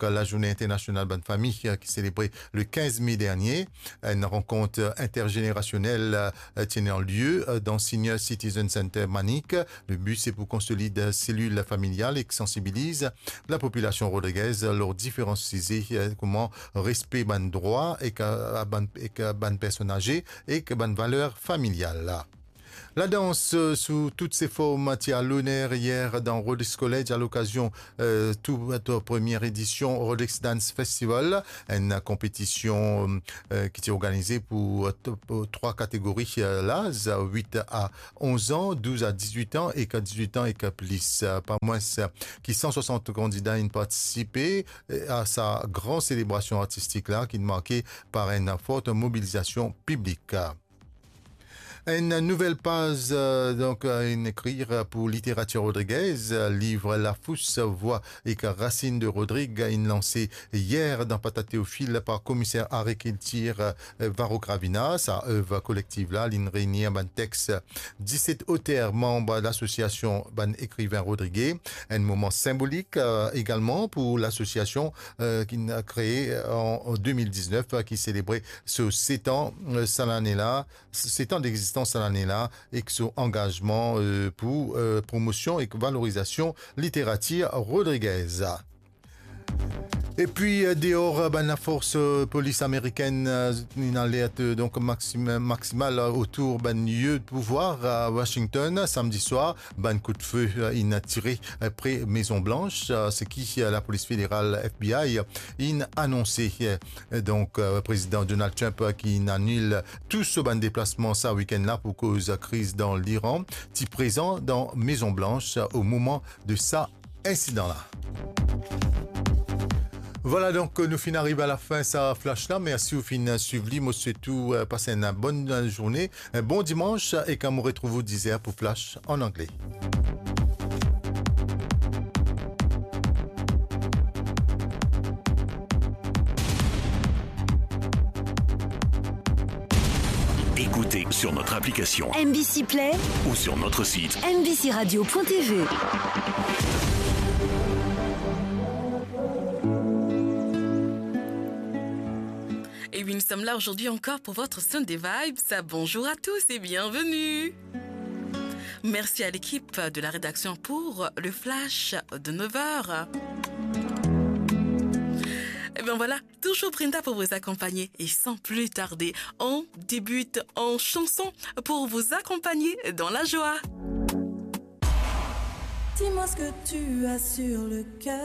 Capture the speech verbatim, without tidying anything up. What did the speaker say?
lazourne internasional bann fami, eh, ki selebre le kinz me dernie. Enn rankont interzenerasionel, eh, ti ena lie, eh, dan Senior Citizen Center Manik. Le bi se pou konsolid selil familial ek sansibiliz lapopilasion rodrigez lor diferan size, eh, kouma respe bann drwa ek, eh, bann, ek, eh, bann personn aze ek bann valer familial. Ladans, eh, sou tout se form, ti a loner yer dan Rhodes College alokazion, eh, tou, tou premie edision Rhodes Dance Festival, enn konpetision, eh, ki ti organize pou, eh, t-, pou trwa kategori, eh, laz, wit a onz an, douz a dizwit an ek dizwit an ek plis. Eh, pa mwins ki san swasant kandida inn partisipe, eh, a sa gran selebrasion artistik la ki marke par enn fort mobilizasion piblik. Enn nouvel paz, eh, donk, eh, inn ekrir pou literatir rodrigez, eh, liv Lafous, Vwa ek Rasinn de Rodrig inn lanse yer dan Pata Teofil par komiser agrikiltir, eh, Varro Gravina. Sa ev kolektiv la, linn reini bann text diset oter manb lasosiasion bann ekriven rodrige. Enn moman sinbolik, eh, egalman pou lasosiasion, eh, ki'nn kree an, an de mil diznef, eh, ki selebre so set an, eh, sa lane la, set an degzistans sa lane la, ek so angazman, eh, pou, eh, promosion ek valorizasion literatir rodrigez. Epi, eh, deor, eh, bann lafors, eh, polis amerikenn, eh, inn alert, eh, donk maxim-, maksimal, eh, otour bann lie de pouvwar a Washington, samdi swar, bann kout dife, eh, inn tire, eh, pre Mezon Blanch, eh, seki, eh, lapolis federal, F B I, inn anonse. Eh, donk, eh, Prezidan Donald Trump, eh, ki inn anil tou so bann deplasman sa wikenn la pou koz kriz dan Liran, ti prezan dan Mezon Blanch, eh, o moman de sa insidan la. Vwala, donk, nou finn ariv a lafin sa flash la. Mersi ou finn swiv li. Mo swet ou, eh, pas enn bonn, eh, zourne, enn bon dimans, e kan mo retrouv ou diz er pou flash an angle. Écoutez sur notre application M B C Play ou sur notre site M B C radio point T V. Et oui, nous sommes là aujourd'hui encore pour votre Sunday Vibes. Bonjour à tous et bienvenue. Merci à l'équipe de la rédaction pour le flash de neuf heures. Et bien voilà, toujours Brenda pour vous accompagner. Et sans plus tarder, on débute en chanson pour vous accompagner dans la joie. Dis-moi ce que tu as sur le cœur.